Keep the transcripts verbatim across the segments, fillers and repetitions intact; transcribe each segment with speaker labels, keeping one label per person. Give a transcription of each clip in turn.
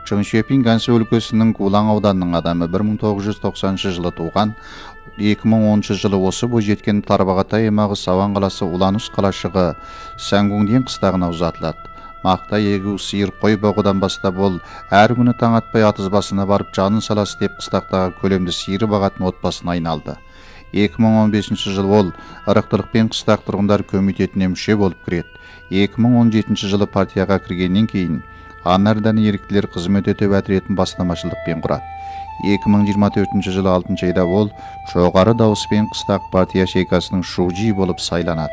Speaker 1: Чоң Шөпин Gansu өлкөсүнүн Кулаң ауданынын адамы, бир миң тогуз жүз токсонунчу жылы тууган. эки миң онунчу жылы осы бойжеткен Тарбағатай аймагы Саван каласы Уланус калашыгы Сангуңдин кыстагына узатылат. Макта эгүү, сыйыр, кой богудан баштап ол ар күнү таң атпай атызбасына барып жанын саласы деп кыстактагы көлөмдүү сыйыр багатын отбасына айналды. эки миң он бешинчи жылы ол ырыктылыкпен кыстак тургундар комитетине мүчө болуп кирет. эки миң он жетинчи жылы партияга киргенден кийин Анардан эрктилер кызмет өтөп отрядын бастамачылыкпен курат. эки миң жыйырма төртүнчү жылы алтынчы айда ол жогору дабыспен кыстак партия шейкасынын шужи болуп сайланат.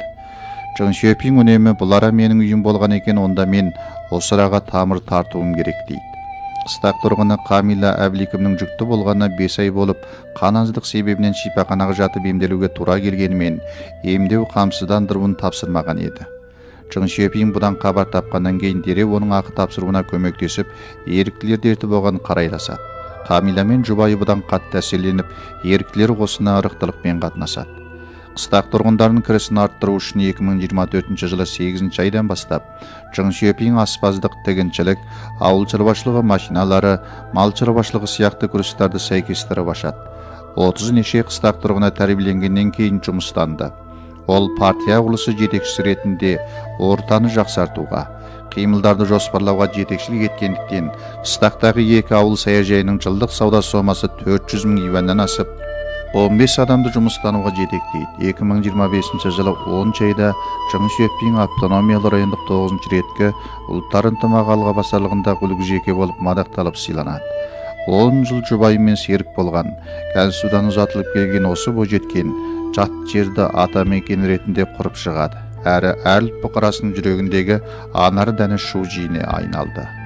Speaker 1: Чоң Шөпин үнөмө булара менин үйүм болгон экен, онда мен осурага тамыр тартуум керек дейт. Кыстак тургуну Камила Абликовнун жүктүү болгонуна беш ай болуп, кан аздык себебинен шипаканага жатып эмделүүгө туура келгени менен эмдөө камсыздандыруун тапшырмаган эди. Чоң Шөпин будан кабар тапкандан кийин дереw онун акы тапшырууна көмөктөшүп, эрктилер дерти болгон карайлашат. Камила мен жубайы будан катты таасирленип, эрктилер косуна ырыктылыкпен катнашат. Кыстак тургундардын киресин арттыруу үчүн эки миң жыйырма төртүнчү жылы сегизинчи айдан баштап Чоң Шөпин аспаздык, тегинчилик, ауыл чарбачлыгы машиналары, мал чарбачлыгы сыяктуу курстарды сайкестирип ашат. отуз нече кыстак тургуна тарбиеленгенден кийин жумуштанды. Ол партия курулушу жетекчиси иретинде ортаны жакшартууга, кыймылдарды жоспарлауга жетекчилик эткендиктен кыстактагы эки ауыл саяжайынын жылдык сауда сомасы төрт жүз миң юандан ашып, он беш адамды жумуштанууга жетектейт. эки миң жыйырма бешинчи жылы онунчу айда Чоң Шөпин автономиялуу райондук тогузунчу иретке улуттар ынтымагы басарлыгында үлгү болуп мадакталып сыйланат. он жыл жубайы менен серик болгон, Gansuдан узатылып келген осы бойжеткен жат жерди ата мекен иретинде куруп чыгат. Әрі әрліп бұқарасының жүрегіндегі анары дәні шу жиіне айналды.